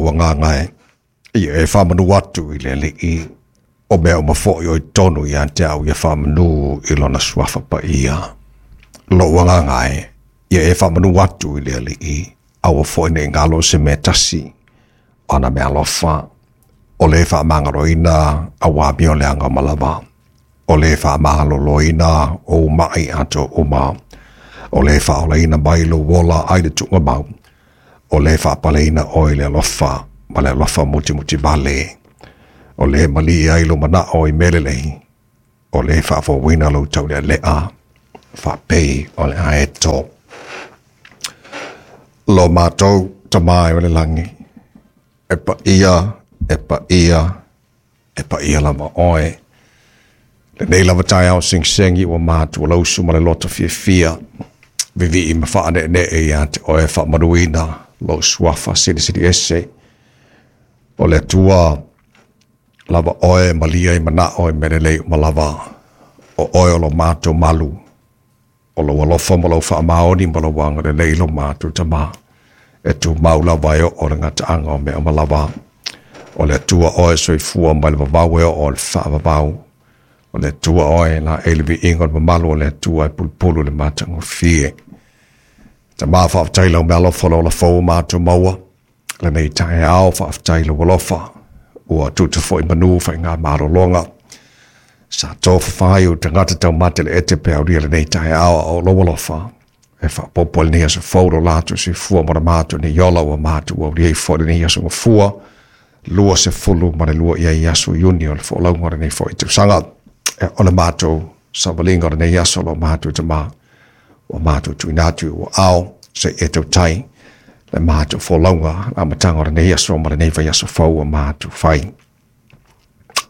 Lou agaga e, ia e faamanu atu i le Alii, o mea uma foi o i totonu ia te au ia faamanu i lona suafa paia. Lou agaga e, ia e faamanu atu i le Alii, aua foi ne i galo se mea tasi o ana meaalofa, o le faamagaloina auā amio leaga uma lava, o le faamaloloina ou mai atoa uma, o le faaolaina mai lou ola ai le tuugamau, o le faapaleina oe i le alofa ma le alofa mutimutivale, o le malie ai lou manao i mea lelei, o le faafouina lou taulealea, faapei o le aeto. Lo matou Tama e o le lagi, e paia, e paia, e paia lava oe. Lenei lava taeao segisegi ua matou lausu ma le loto fiafia, vivii ma faaneenee ia te oe faamanuina lou suafa silisili ese. O le Atua lava oe malia i manao i mea lelei uma lava, o oe o lo matou malu, o lou alofa ma lou faamaoni ma lou agalelei lo matou Tama, e tumau lava e oo le gataaga o mea uma lava. O le Atua oe soifua mai le vavau e oo i le faavavau. O le Atua oe la e le viiga o le mamalu o le Atua e pulupulu le matagofie. Tama, faafetai lau meaalofa lo ola fou matou maua lenei taeao, faafetai lou alofa ua tuta foi manu faiga malologa sa tofafa ai o tagata taumate le ete pe aulia lenei taeao, a o lou alofa e faaopoopo ai lenei aso fou lo latou soifua ma le matou nei ola ua matou aulia ai foi lenei aso Gafua 22 i ai aso Iuni o le folauga o lenei foi tausaga. O le matou savaliga o lenei aso lo matou Tama ua matou tuuina atu i ua ao se i e tautai le matou folauga amataga o lenei aso ma lenei vaiaso fou ua matou fai.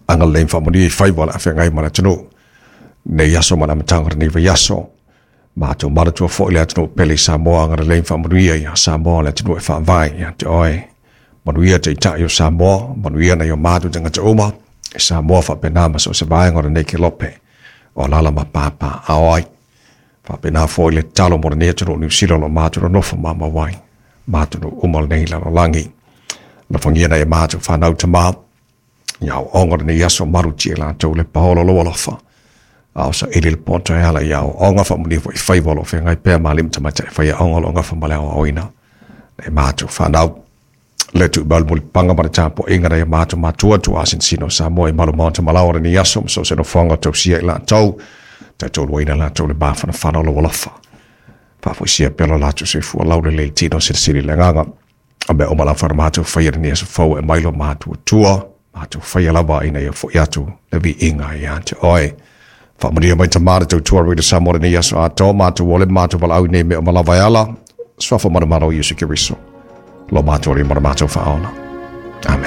Agalelei ma faamanuia i faiva o le afeagai ma le atunuu nei aso ma le amataga o lenei vaiaso. Matou manatua foi le atunuu pele i Samoa, agalelei ma faamanuia ia Samoa le atunuu e faavae ia te oe. Manuia taitai o Samoa, manuia nai o matou tagata uma i Samoa faapena ma so o se vaega o lenei kelope o alaala ma papaaao ai. Faapena foi le tatalo mo lenei atunuu o Niu Sila o lo o matou nonofo mamau ai, ma atunuu uma o lenei lalolagi. Alofagia nai a matou fanau tama, ia aoaoga o lenei aso malutia i latou le paolo o lou alofa, a o saili le poto e ala i aoaoga, faamanuia foi i faiva o lo o feagai pea ma alii ma tamaitai faiaoga o lo o gafa ma le aoaoina nai matou fanau. Le tuuina mai le mulipapaga ma le tapuaiga nai a matou matua tuasinosino o Samoa i malu maota malaoa o lenei aso ma so o se nofoaga o tausia i latou, taitoluaina latou le mafanafana o lou alofa. Faafoisia pea lo latou soifua laulelei i le tino silisili le agaga. O mea uma lava na matou faia lenei aso fou e mai lo matou Atua, matou faia lava ina ia foi atu le viiga ia te oe. Faamanuia mai Tama le tautua Radio Samoa lenei aso atoa, matou ole matou valaau i nei mea uma lava e ala suafa manumalo o Iesu Keriso, lo matou Alii ma lo matou Faaola. Amen.